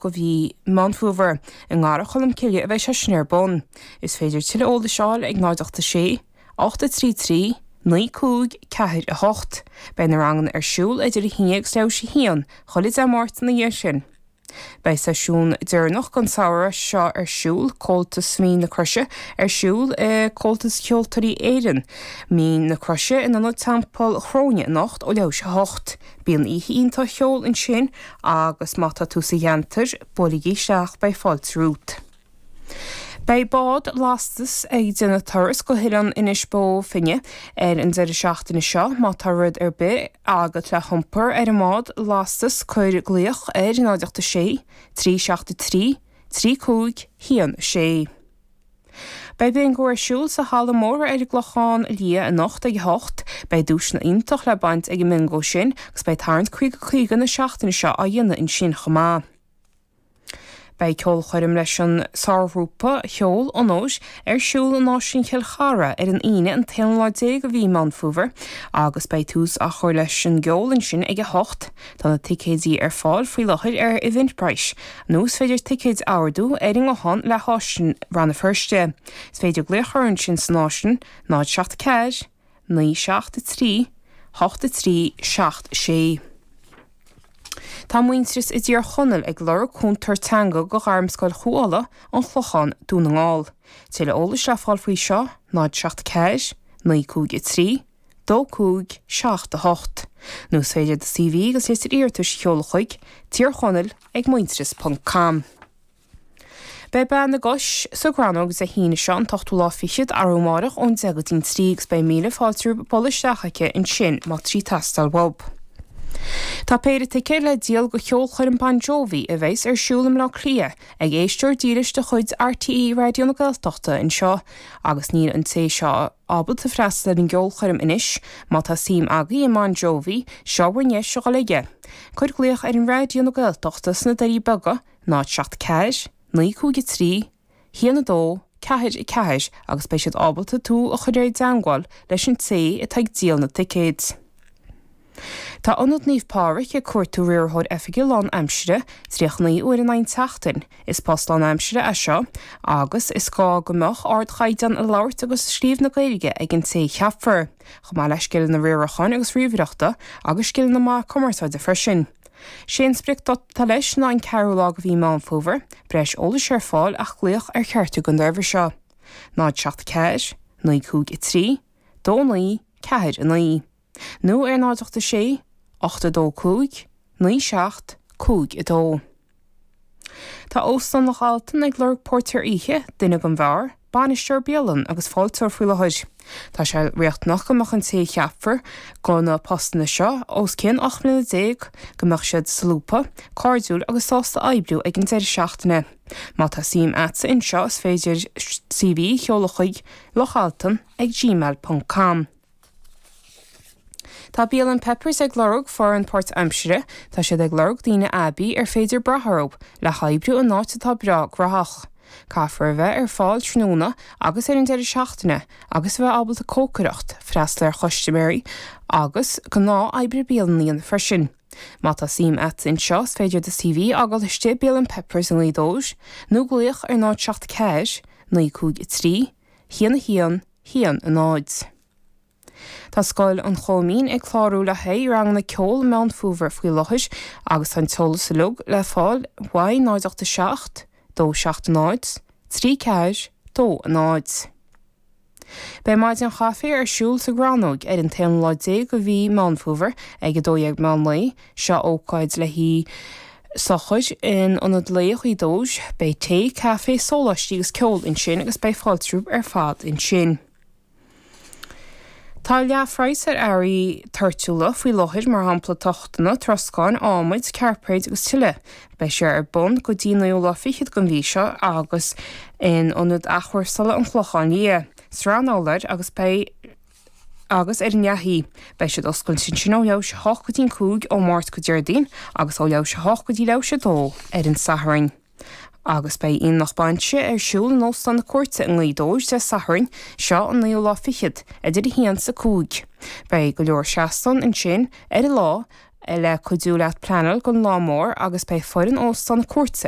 De mhí Meán Fómhair. I nGarraí Cholm Cille a bheidh sé sin ar bun. Is féidir tuilleadh eolais a fháil ag 0 8 6 8 3 3 9 5 4 8. Beidh na ranganna ar siúl idir 1 agus leathuair théis 1 chuile Dé Máirt ina dhiaidh sin. Beidh seisiún deireanach den samhradh seo ar siúl, Comhaltas Mhín na Croise, ar siúl i Comhaltas Ceoltóirí Éireann, Mín na Croise in Ionad Teampall Chróine anocht ó leathuair théis 8. Bíonn oíche iontach cheoil ansin agus má tá tú sa cheantar, buailigí isteach, beidh fáilte romhat. Beidh bád lastais ag déanamh turas go hOileán Inis Bó Finne ar an deireadh seachtaine seo. Má tá rud ar bith agat le hiompar ar an mbád lastais cuir glaoch ar 0 8 6 3 7 3 3 5 1 6. Beidh Bingo ar siúl sa Halla Mór ar an gClochán Liath anocht ag 8. Beidh duaiseanna iontach le baint ag an mBingo sin agus beidh tarraingt 50 50 na seachtaine seo á dhéanamh ansin chomh maith. Beidh ceolchoirm leis an sárghrúpa cheoil Onóir ar siúl in Áislann Chill Chartha ar an Aoine an t-aonú lá déag de mhí Meán Fómhair agus beidh tús á chur leis an gceol ansin ag 8. Tá na ticéidí ar fáil faoi láthair ar Eventbrite. Nó is féidir ticéid a ordú ar an nguthán le hÁislann Rann na Feirste. Is féidir glaoch orthu ansin san Áislann, 0 7 4 9 7 3 8 3 7 6. Tá Muintearas i dTír Chonaill ag lorg cúntóir teanga go Ghairmscoil Chú Uladh, An Clochán, Dún na nGall. Tuilleadh eolais le fáil faoi seo, 0 7 4 9 5 3 2 5 7 8. Nó is féidir do CV agus litir iarratais a sheoladh chuig, Tír Chonaill ag muintearas ponc com. Beidh Bean na gCos sa gCrannóg Dé hAoine seo an t-ochtú lá fichead, arú amáireach ón 10 go dtí'n 3 agus beidh míle fáilte roimh bualadh isteach aici ansin má tá sí ag teastáil uaibh. Tá péire ticéad le díol go cheolchoirm Bon Jovi a bheas ar siúl i mBleá Cliath ag éisteoir dílis de chuid RTÉ Raidió na Gaeltachta anseo agus níl an té seo ábalta freastal ar an gceolchoirm anois. Má tá suim agaibh i mBon Jovi, seo bhur ndeis a dhul aige. Cuir glaoch ar an Raidió na Gaeltachta sna Doirí Beaga, 0 7 4 9 5 3 1 2 4 4 agus beidh siad ábalta tú a chur i dteangmháil leis an té atá ag díol na ticéid. Tá Ionad Naomh Pádraig ag cuartú riarthóir oifige lán aimsire, 39 uair in aghaidh an tseachtain. Is post lán aimsire é seo agus is gá go mbeadh ardchaighdeán i labhairt agus scríobh na Gaeilge ag an té a cheapfar, chomh maith le scileanna riaracháin agus ríomhaireachta agus scileanna maith cumarsáide freisin. Sé an spriocdháta leis ná an ceathrú lá de mhí Meán Fómhair. Breis eolais ar fáil ach glaoch ar cheachtar den dá uimhir seo, 0 7 4 9 5 3 2 9 4 9. Nó ar 0 8 6 8 2 5 9 7 5 2. Tá Óstán Loch Altan ag lorg póirtéir oíche, duine don bheár, bainisteoir bialann agus fáilteoir faoi láthair. Tá sé riachtanach go mbeadh an té a cheapfar go na postanna seo os cionn 18 mbliana, go mbeadh siad solúbtha, cairdiúil agus sásta oibriú ag an deireadh seachtaine. Má tá suim a'dsa anseo is féidir CV a sheoladh chuig lochaltan ag gmail ponc com. Tá Bialann Pepper's ag lorg foireann páirt-aimsire. Tá siad ag lorg daoine aibí ar féidir brath orthu le hoibriú in áit atá breá graitheach. Caithfear a bheith ar fáil tráthnóna agus ar an deireadh seachtaine agus a bheith ábalta cócaireacht, freastal ar chustaiméirí agus gnáth oibre bialann a dhéanamh freisin. Má tá suim a'd anseo is féidir do CV a fhágáil istigh i Bialann Pepper's i nGaoth Dobhair nó glaoch ar 0 7 4 9 5 3 1 1 1 0. Tá Scoil an Choimín ag clárú le haghaidh ranganna ceoil Meán Fómhair faoi láthair agus tá an t-eolas uilig le fáil uaidh 0 8 7 2 7 0 3 4 2 0. Beidh maidin chaife ar siúl sa gCrannóg ar an t-aonú lá déag de mhí Meán Fómhair ag 12 meán lae. Seo ócáid le haghaidh sochair in Ionad Lae Ghaoth Dobhair. Beidh tae, caife, sóláistí agus ceol ansin agus beidh fáilte romhaibh ar fad ansin. Tá leathphraghas ar earraí toirtiúla faoi láthair, mar shampla tochtanna, troscáin, adhmaid, cairpéid agus tuilleadh. Beidh sé ar bun go dtí naoú lá fichead den mhí seo agus in Ionad Athchúrsála an Chlocháin Liath, Srath an Fholair agus beidh agus ar an nDeathaí. Beidh siad oscailte ansin ó leathuair théis a hocht go dtí'n 5 ó Máirt go Déardaoin agus ó leathuair théis a hocht go dtí leathuair théis a dó ar an Satharn. Agus beidh aonach bainse ar siúl in Óstán na Cúirte i nGaoth Dobhair Dé Sathairn seo an naoú lá fichead, idir 1 's 5. Beidh go leor seastán ansin ar an lá. Le cuidiú leat pleanáil don lá mór agus beidh foireann Óstán na Cúirte ar.